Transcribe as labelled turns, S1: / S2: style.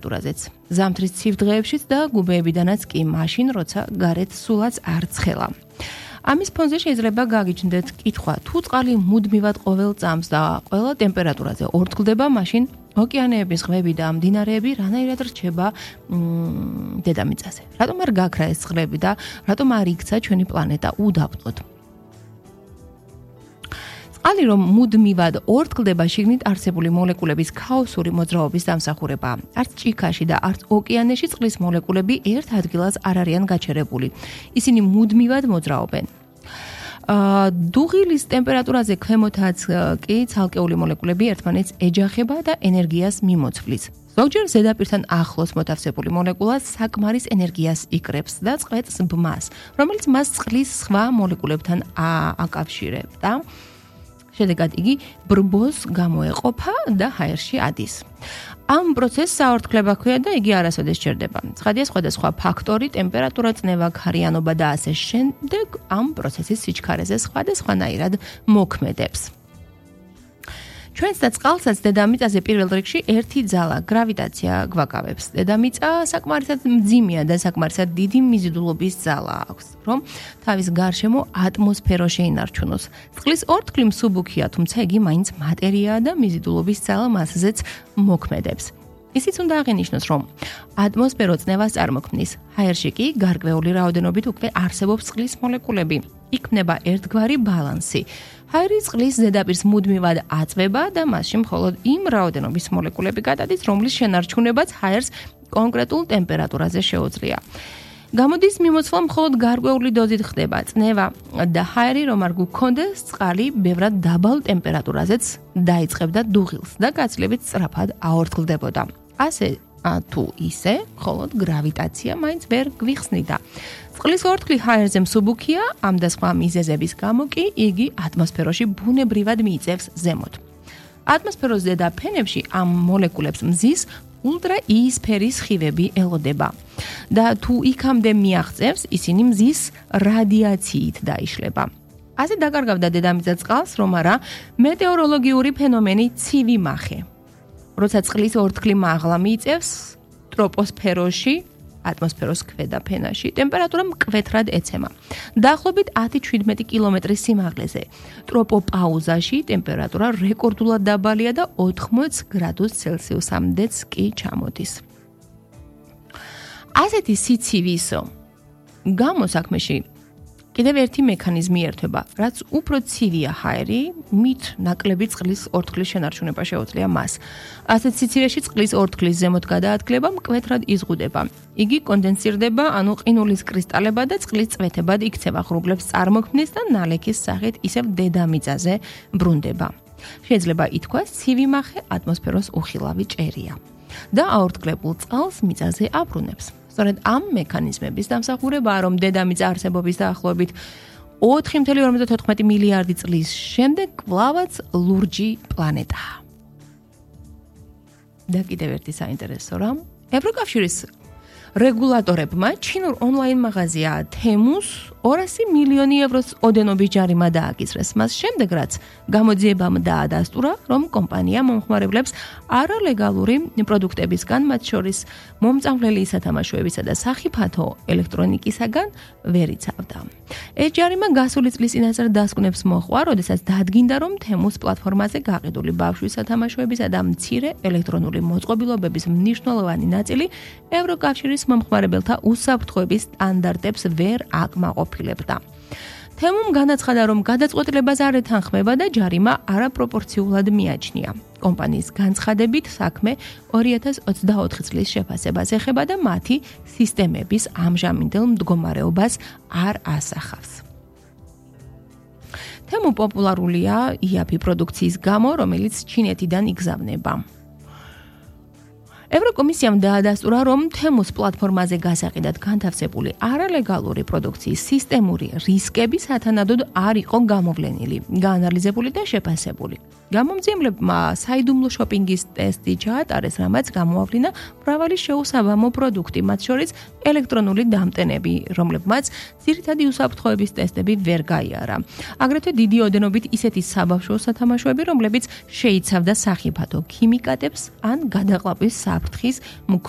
S1: ტემპერატურაზეც. ზამთრის ცივ დღეებშიც და გუბეებიდანაც კი მაშინ, როცა გარეთ სულაც არ ცხელა. ამის ფონზე შეიძლება გაგიჩნდეთ კითხვა, თუ წყალი მუდმივად ყოველ წამს და ყველა ტემპერატურაზე ორთქლდება, მაშინ ოკეანეების ზღვები და მდინარეები რანაირად რჩება დედამიწაზე. რატომ არ გაქრა ეს ზღვები და რატომ არ იქცა ჩვენი პლანეტა უდაბნოდ? წყალი რომ მუდმივად ორთქლდება, შიგნით არსებული მოლეკულების ქაოსური მოძრაობის დამსახურებაა. არც ჭიქაში და არც ოკეანეში წყლის მოლეკულები ერთ ადგილას არ არიან გაჩერებული. ისინი მუდმივად მოძრაობენ. დუღილის ტემპერატურაზე ქვემოთაც კი ცალკეული მოლეკულები ერთმანეთს ეჯახება და ენერგიას მიმოცვლის. ზოგჯერ ზედაპირთან ახლოს მოთავსებული მოლეკულა საკმარის ენერგიას იკრებს და წყვეტს ბმას, რომელიც მას წყლის სხვა მოლეკულებთან აკავშირებდა. შედეგად იგი ბრბოს გამოეყოფა და ჰაერში ადის. ამ პროცესს საორთქლება ჰქვია და იგი არასოდეს სჭირდება. ცხადია, სხვადასხვა ფაქტორი, ტემპერატურა, წნევა, ქარიანობა და ასე შემდეგ ამ პროცესის სიჩქარეზე სხვადასხვანაირად მოქმედებს. ჩვენს და წყალსაც დედამიწაზე პირველ რიგში ერთი ძალა, გრავიტაცია გვაკავებს. დედამიწა საკმარისად მძიმეა და საკმარისად დიდი მიზიდულობის ძალა აქვს, რომ თავის გარშემო ატმოსფერო შეინარჩუნოს. წყლის ორთქლი მსუბუქია, თუმცა იგი მაინც მატერიაა და მიზიდულობის ძალა მასზეც მოქმედებს. ისიც უნდა აღინიშნოს, რომ ატმოსფერო წნევას წარმოქმნის. ჰაერში კი გარკვეული რაოდენობით უკვე არსებობს წყლის მოლეკულები. იქმნება ერთგვარი ბალანსი. ჰაერი წყლის ზედაპირს მუდმივად აწვება და მასში მხოლოდ იმ რაოდენობის მოლეკულები გადადის, რომლის შენარჩუნებაც ჰაერს კონკრეტულ ტემპერატურაზე შეუძლია. გამოდის მიმოცვლა მხოლოდ გარკვეული დოზით ხდება. წნევა და ჰაერი რომ არ გქონდეს, წყალი ბევრად დაბალ ტემპერატურაზეც დაიწყებდა დუღილს და გაცილებით სწრაფად აორთქლდებოდა. ასე თუ ისე, მხოლოდ გრავიტაცია მაინც ვერ გვიხსნიდა. წყლის ორთქლი ჰაერზე მსუბუქია, ამ და სხვა მიზეზების გამო კი იგი ატმოსფეროში ბუნებრივად მიიწევს ზემოთ. ატმოსფეროს ზედა ფენებში ამ მოლეკულებს მზის ულტრაიისფერის სხივები ელოდება და თუ იქამდე მიაღწევს, ისინი მზის რადიაციით დაიშლება. ასე დაკარგავდა დედამიწა წყალს, რომ არა მეტეოროლოგიური ფენომენი ცივი მახე. როცა წყლის ორთქლი მაღლა მიიწევს ტროპოსფეროში, ატმოსფეროს ქვედა ფენაში, ტემპერატურა მკვეთრად ეცემა. დაახლოებით 10-17 კილომეტრის სიმაღლეზე. ტროპოპაუზაში ტემპერატურა რეკორდულად დაბალია და 80 გრადუს ცელსიუსამდეც კი ჩამოდის. ასეთი სიცივის გამოსაქმეში კიდევ ერთი მექანიზმი ერთვება, რაც უფრო ცივია ჰაერი, მით ნაკლები წყლის ორთქლის შენარჩუნება შეუძლია მას. ასეთ სიცივეში წყლის ორთქლის ზემოთ გადაადგილება მკვეთრად იზღუდება. იგი კონდენსირდება, ანუ ყინულის კრისტალება და წყლის წვეთებად იქცევა, ღრუბლებს წარმოქმნის და ნალექის სახით ისევ დედამიწაზე ბრუნდება. შეიძლება ითქვას, ცივი მახე ატმოსფეროს უხილავი ჭერია და აორთქლებულ წყალს მიწაზე აბრუნებს. სწორედ ამ მექანიზმების დამსახურებაა, რომ დედამიწა არსებობის დაახლოებით 4.54 მილიარდი წლის შემდეგ კვლავაც ლურჯი პლანეტაა. და კიდევ ერთი საინტერესო რამ, ევროკავშირის რეგულატორებმა ჩინურ ონლაინ მაღაზია თემუს 200 მილიონი ევროს ოდენობის ჯარიმა დააკისრეს. მას შემდეგ, რაც გამოძიებამ დაადასტურა, რომ კომპანია მომხმარებლებს არალეგალური პროდუქტებისგან, მათ შორის მომწამვლელი სათამაშოებისა და სახიფათო ელექტრონიკისაგან ვერ იცავდა. ეს ჯარიმა გასული წლის წინასწარ დასკვნებს მოჰყვა, როდესაც დადგინდა, რომ თემუს პლატფორმაზე გაყიდული ბავშვის სათამაშოებისა და მცირე ელექტრონული მოწყობილობების მნიშვნელოვანი ნაწილი ევროკავშირის მომხმარებელთა უსაფრთხოების სტანდარტებს ვერ აკმაყოფილებდა. თემუმ განაცხადა, რომ გადაწყვეტილებას არ ეთანხმება და ჯარიმა არაპროპორციულად მიაჩნია. კომპანიის განცხადებით, საქმე 2024 წლის შეფასებას ეხება და მათი სისტემების ამჟამინდელ მდგომარეობას არ ასახავს. თემუ პოპულარულია იაფი პროდუქციის გამო, რომელიც ჩინეთიდან იგზავნება. ევროკომისიამ დაადასტურა, რომ თემუს პლატფორმაზე გასაყიდად განთავსებული არალეგალური პროდუქციის სისტემური რისკები სათანადოდ არ იყო გამოვლენილი, გაანალიზებული და შეფასებული. გამომძიებლებმა საიდუმლო შოპინგის ტესტი ჩაატარეს, რამაც გამოავლინა მრავალი შეუსაბამო პროდუქტი, მათ შორის ელექტრონული დამტენები, რომლებმაც ძირითადი უსაფრთხოების ტესტები ვერ გაიარა. აგრეთვე დიდი ოდენობით ისეთი საბავშვო სათამაშოები, რომლებიც შეიცავდა სახიფათო ქიმიკატებს ან გადაყლაპვის საფრთხის მქონე